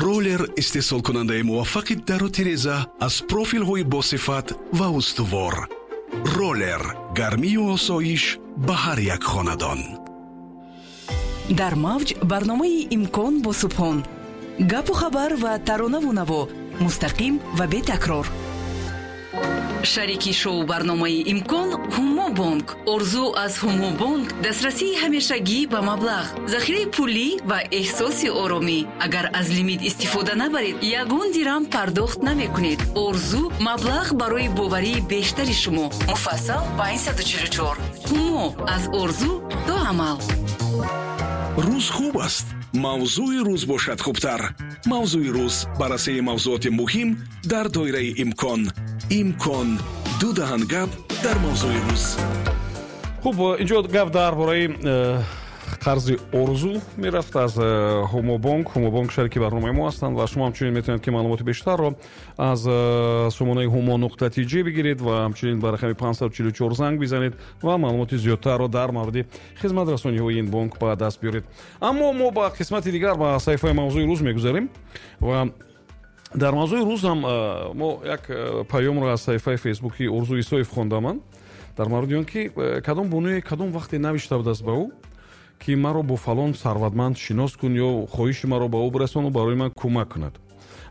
Ролер истеҳсолкунандаи муваффақи дару тиреза аз профилҳои босифат ва устувор. Ролер гармию осоиш ба ҳар як хонадон. Дар мавҷ барномаи «Имкон» бо Субҳон. Гапу хабар ва таронаву наво мустақим ва бетакрор. Шарики шоу барномаи «Имкон» Ҳумобонк. Орзу аз Ҳумобонк дастрасии ҳамешагӣ ба маблағ, захираи пулӣ ва эҳсоси оромӣ. Агар аз лимит истифода набаред, ягон дирам пардохт намекунед. Орзу маблағ барои боварии бештари шумо. Муфассал 544. Ҳумо аз орзу то амал. Рӯз хуб аст, мавзӯи рӯз бошад хубтар. «Мавзӯи рӯз» баррасии мавзуоти муҳим дар доираи имкон. «Имкон» ду даҳан гап дар мавзӯи рӯз. Хуб, инҷо гап дар бораи қарзи Орзу мерафт аз Ҳумобонк. Ҳумобонк шарики барномаи мо ҳастанд ва шумо ҳамчунин метавонед, ки маълумоти бештарро аз сомонаи humo.tj бигиред ва ҳамчунин ба рақами 544 занг бизанед ва маълумоти зиёдтарро дар мавриди хизматрасониҳои ин бонк ба даст биёред. Аммо мо ба қисмати дигар, ба саҳифаи «Мавзӯи рӯз» мегузарем ва дар «Мавзӯи рӯз» ҳам мо як паёмро аз саҳифаи Фейсбуки Орзу Исоев хондаман дар мавриди он ки кадом бонуе кадом вақте навишта будааст ба ӯ, ки маро бо фалон сарватманд шинос кун ё хоҳиши маро ба ӯ бирасону барои ман кӯмак кунад.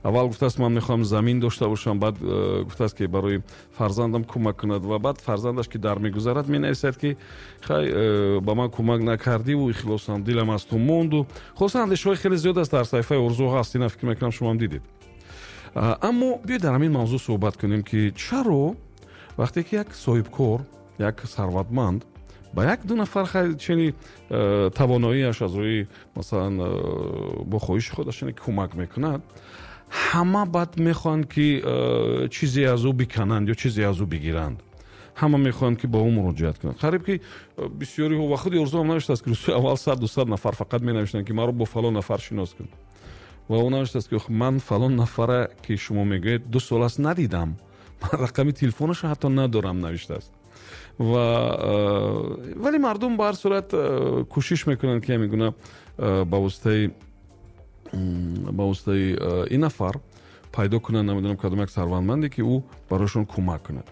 Аввал гуфтааст, ман мехоҳам замин дошта бошам, баъд гуфтааст, ки барои фарзандам кӯмак кунад ва баъд фарзандаш ки дар мегузарад, менависад, ки хай, ба ман кӯмак накардиву ихлосам дилам аз ту монду. Хулоса, андешаҳои хеле зиёд аст дар саҳифаи Орзу ҳаст, ина фикр мекунам, шумоам дидед. Аммо биёед, дар ҳамин мавзӯъ суҳбат кунем, ки чаро вақте ки як соҳибкор, як сарватманд ба як ду нафар чени тавоноиаш аз рӯи, масалан, бо хоҳиши худаш кӯмак мекунад, ҳама баъд мехоҳанд, ки чизе аз ӯ бикананд ё чизе аз ӯ бигиранд, ҳама мехоҳанд, ки ба ӯ муроҷиат кунанд. Қариб ки бисёриҳо ва худи Орзуам навиштааст, ки рӯзҳои аввал 100, 200 нафар фақат менавиштанд, ки маро бо фалон нафар шинос кун. Ва ӯ навиштааст, ки ман фалон нафара, ки шумо мегӯед, 2 сол аст надидам, ман рақами телефонашо ҳатто надорам, навиштааст. Ва вале мардум ба ҳар сурат кӯшиш мекунанд, ки ҳамин гуна ба воситаи ин нафар пайдо кунанд, намедонам, кадом як сарватманде, ки ӯ барояшон кӯмак кунад.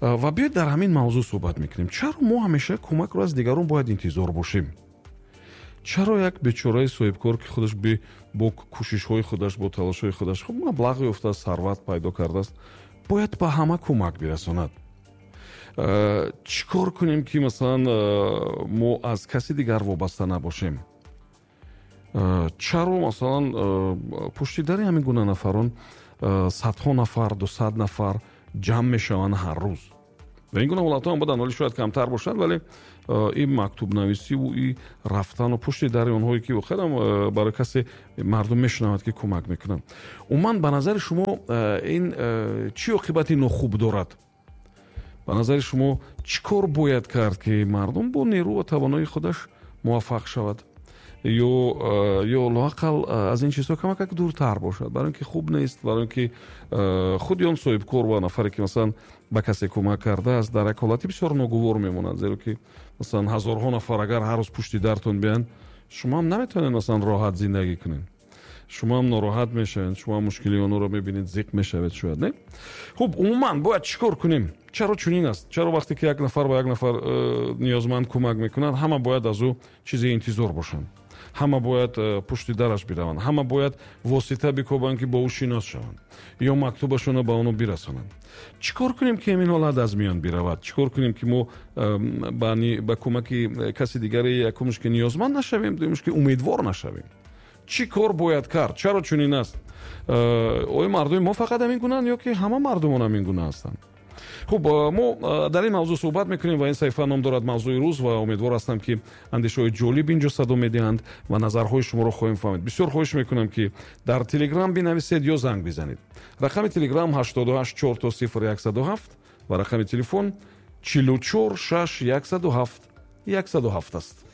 Ва биёед, дар ҳамин мавзӯъ суҳбат мекунем. Чаро мо ҳамеша кӯмакро аз дигарон бояд интизор бошем? Чаро як бечораи соҳибкор, ки худаш бо кӯшишҳои худаш, бо талошҳои худаш хуб маблағ ёфтааст, сарват пайдо кардааст, бояд ба ҳама кӯмак бирасонад? Чӣ кор кунем, ки масалан мо аз каси дигар вобаста набошем? Чаро, масалан, пушти дари ҳамин гуна нафарон садҳо нафар, 200 нафар ҷамъ мешаванд ҳар рӯз? Ва ин гуна ҳолатҳо ҳам буданд, вале шояд камтар бошад. Вале ин мактубнависиву и рафтану пушти дари онҳое, ки воқеан барои касе мардум мешунавад, ки кӯмак мекунанд. Умуман, ба назари шумо, ин чӣ оқибати нохуб дорад? Ба назари шумо, чӣ кор бояд кард, ки мардум бо нерӯ ва тавоноии худаш муваффақ шавад ё лоақал аз ин чизҳо камакак дуртар бошад? Барои ин ки хуб нест, барои ин ки худи он соҳибкор ва нафаре, ки масалан ба касе кӯмак кардааст, дар як ҳолати бисёр ногувор мемонад, зеро ки масалан ҳазорҳо нафар агар ҳар рӯз пушти дартон биёянд, шумо ҳам наметавонед, масалан, роҳат зиндагӣ кунед, шумо ҳам нороҳат мешавед, шумо ҳам мушкилии онҳоро мебинед, зиқ мешавед шояд, не? Хуб, умуман бояд чӣ кор кунем? Чаро чунин аст? Чаро вақте ки як нафар ба як нафар ниёзманд кӯмак мекунад, ҳама бояд аз ӯ чизе интизор бошанд, ҳама бояд пушти дараш бираванд, ҳама бояд восита бикобанд, ки бо ӯ шинос шаванд ё мактубашонро ба оно бирасонанд? Чӣ кор кунем, ки ҳамин ҳолат аз миён биравад? Чӣ кор кунем, ки мо ба кӯмаки каси дигаре, якумш, ки ниёзманд нашавем, дуюмш, ки умедвор нашавем? Чӣ кор бояд кард? Чаро чунин аст? Оё мардуми мо фақат ҳамин гунаанд ё ки ҳама мардумон ҳамин гуна ҳастанд? Хуб, мо дар ин мавзӯъ суҳбат мекунем ва ин саҳифа ном дорад «Мавзӯи рӯз» ва умедвор ҳастам, ки андешаҳои ҷолиб инҷо садо медиҳанд ва назарҳои шуморо хоҳем фаҳмид. Бисёр хоҳиш мекунам, ки дар Телеграм бинависед ё занг бизанед. Рақами Телеграм 88 4 0 107 ва рақами телефон 44 6 107 107 аст.